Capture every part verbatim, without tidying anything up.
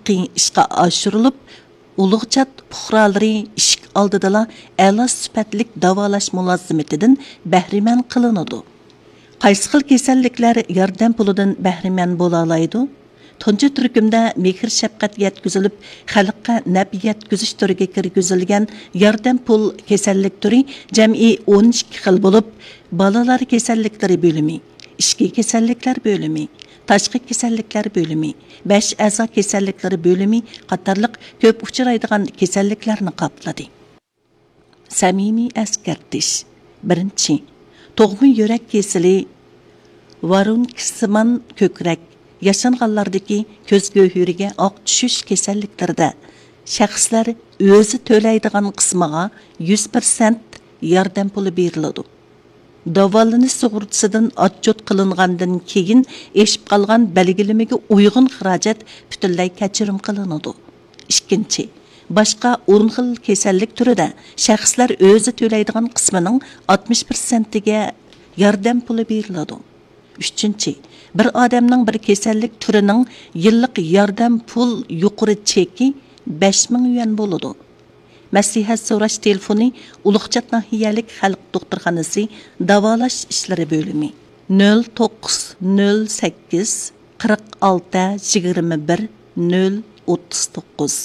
قىيىن ئىشقا ئاشۇرۇلۇپ، ئۇلۇغچات پۇقرالىرى ئىشىك ئالدىدىلا ئەلا سۈپەتلىك داۋالاش مۇلازىمىتىدىن بەھرىمەن قىلىنىدۇ. قايسى خىل كېسەللىكلەر ياردەم پۇلىدىن بەھرىمەن بولالايدۇ؟ تۇنجى تۈركۈمدە مېھىر-شەپقەت يەتكۈزۈلۈپ، خەلققە نەپ يەتكۈزۈش تۈرىگە كىرگۈزۈلگەن ياردەم پۇل كېسەللىك تۈرى جەمئىي ئون ئىككى خىل بولۇپ، بالىلار كېسەللىكلىرى بۆلۈمى، ئىچكى كېسەللىكلەر بۆلۈمى، تاشقى كېسەللىكلەر بۆلۈمى، بەش ئەزا كېسەللىكلىرى بۆلۈمى قاتارلىق كۆپ ئۇچرايدىغان كېسەللىكلەرنى قاپلىدى. سەمىمىي ئەسكەرتىش. بىرىنچى، تۇغما يۈرەك كېسىلى، ۋارونكسىمان كۆكرەك، ياشانغانلاردىكى كۆز گۆھىرىگە ئاق چۈشۈش كېسەللىكلىرىدە شەخسلەر ئۆزى تۆلەيدىغان قىسمىغا يۈز پىرسەنت ياردەم پۇلى بېرىلىدۇ. داۋالىنىش سۇغۇرتىسىدىن ئاتچوت قىلىنغاندىن كېيىن ئېشىپ قالغان بەلگىلىمىگە ئۇيغۇن خىراجەت پۈتۈنلەي كەچۈرۈم قىلىنىدۇ. ئىككىنچى، باشقا ئون خىل كېسەللىك تۈرىدە شەخسلەر ئۆزى تۆلەيدىغان قىسمىنىڭ ئاتمىش پىرسەنتىگە ياردەم پۇلى بېرىلىدۇ. ئۈچىنچى، بىر ئادەمنىڭ بىر كېسەللىك تۈرىنىڭ يىللىق ياردەم پۇل يۇقىرى چېكى بەش مىڭ يۈەن بولىدۇ. مەسلىھەت سوراش تېلېفونى: ئۇلۇغچات ناھىيەلىك خەلق دوختۇرخانىسى داۋالاش ئىشلىرى بۆلۈمى، نۆل توققۇز نۆل سەككىز قىرىق ئالتە يىگىرمە بىر نۆل ئوتتۇز توققۇز.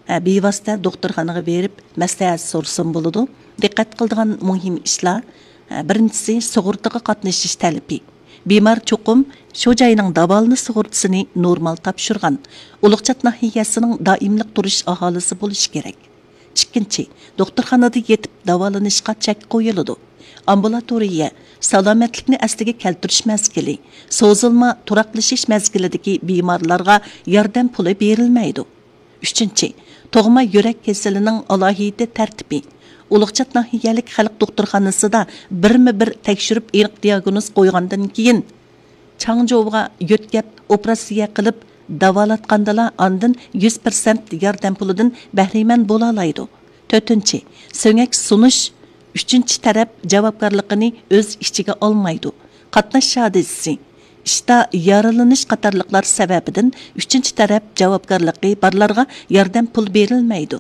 ھە، بىۋاسىتە دوختۇرخانىغا بېرىپ مەسلىھەت سورىسىمۇ بولىدۇ. دىققەت قىلىدىغان مۇھىم ئىشلار، ھە، بىرىنچىسى، سۇغۇرتىغا قاتنىشىش تەلىپى. بىمار چوقۇم شۇ جاينىڭ داۋالىنىش سۇغۇرتىسىنى نورمال تاپشۇرغان، ئۇلۇغچات ناھىيەسىنىڭ دائىملىق تۇرۇش ئاھالىسى بولۇشى كېرەك. ئىككىنچى، دوختۇرخانىدا يېتىپ داۋالىنىشقا چەك قويۇلىدۇ. ئامبۇلاتورىيە، سالامەتلىكنى ئەسلىگە كەلتۈرۈش مەزگىلى، سوزۇلما تۇراقلىشىش مەزگىلىدىكى بىمارلارغا ياردەم پۇلى بېرىلمەيدۇ. ئۈچىنچى، تۇغما يۈرەك كېسىلىنىڭ ئالاھىدە تەرتىپى. ئۇلۇغچات ناھىيەلىك خەلق دوختۇرخانىسىدا بىرمۇ بىر تەكشۈرۈپ ئېنىق دىياگنوز قويغاندىن كېيىن، چاڭجوۋغا يۆتكەپ ئوپېراتسىيە قىلىپ داۋالاتقاندىلا ئاندىن يۈز پىرسەنت ياردەم پۇلىدىن بەھرىمەن بولالايدۇ. تۆتىنچى، سۆڭەك سۇنۇش ئۈچىنچى تەرەپ جاۋابكارلىقىنى ئۆز ئىچىگە ئالمايدۇ. قاتناش ھادىسىسى، ئىشتا يارىلىنىش قاتارلىقلار سەۋەبىدىن ئۈچىنچى تەرەپ جاۋابكارلىقى بارلارغا ياردەم پۇل بېرىلمەيدۇ.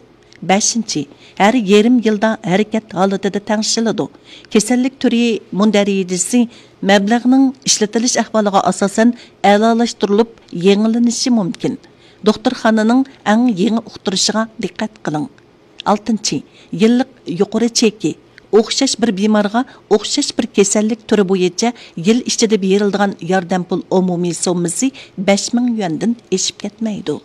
بەشىنچى، ھەر يېرىم يىلدا ھەرىكەت ھالىتىدە تەڭشىلىدۇ. كېسەللىك تۈرى مۇندەرىجىسى مەبلەغنىڭ ئىشلىتىلىش ئەھۋالىغا ئاساسەن ئەلالاشتۇرۇلۇپ يېڭىلىنىشى مۇمكىن. دوختۇرخانىنىڭ ئەڭ يېڭى ئۇقتۇرۇشىغا دىققەت قىلىڭ. ئالتىنچى، يىللىق يۇقىرى چېكى. ئوخشاش بىر بىمارغا ئوخشاش بىر كېسەللىك تۈرى بويىچە يىل ئىچىدە بېرىلىدىغان ياردەم پۇل ئومۇمىي سوممىسى بەش مىڭ يۈەندىن ئېشىپ كەتمەيدۇ.